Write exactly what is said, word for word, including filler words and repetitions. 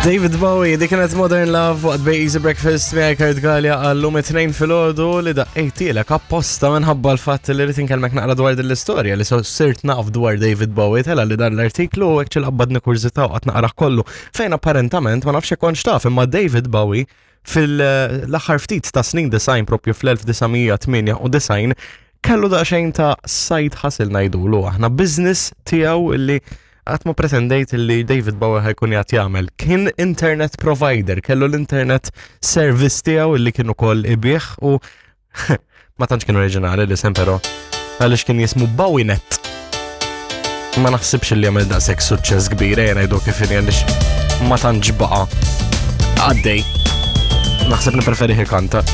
David Bowie, dik kienet Modern Love waqt Bay Easy Breakfast miegħi Kurt Galea għallum it-tnejn filgħodu li daqqejtilek apposta minħabba l-fatt li rrid inkellmek naqra dwar din l-istorja li so sirt naf dwar David Bowie tela li dan l-artiklu u hekk qabadni kurżità u qatt naqra kollu fejn apparentament ma nafx kontx taf imma David Bowie fil-aħħar ftit ta' snin disgħin propju fl-elf disa' mija tmienja u disgħin kellu daqsxejn ta' side hustle ngħidulu aħna business tiegħu illi qatt ma pretendejt li David Bowie ħa jkun jaf jagħmel. Kien internet provider, kellu l-internet service tiegħu illi kien ukoll ibigħ u ma tantx kien oriġinali l-isem però għaliex kien jismu BowieNet. Ma naħsibx li għamel daqshekk suċċess kbir ejja ngħidu kif inhi għaliex ma tantx baqa' għaddej. Naħseb nippreferi kanta.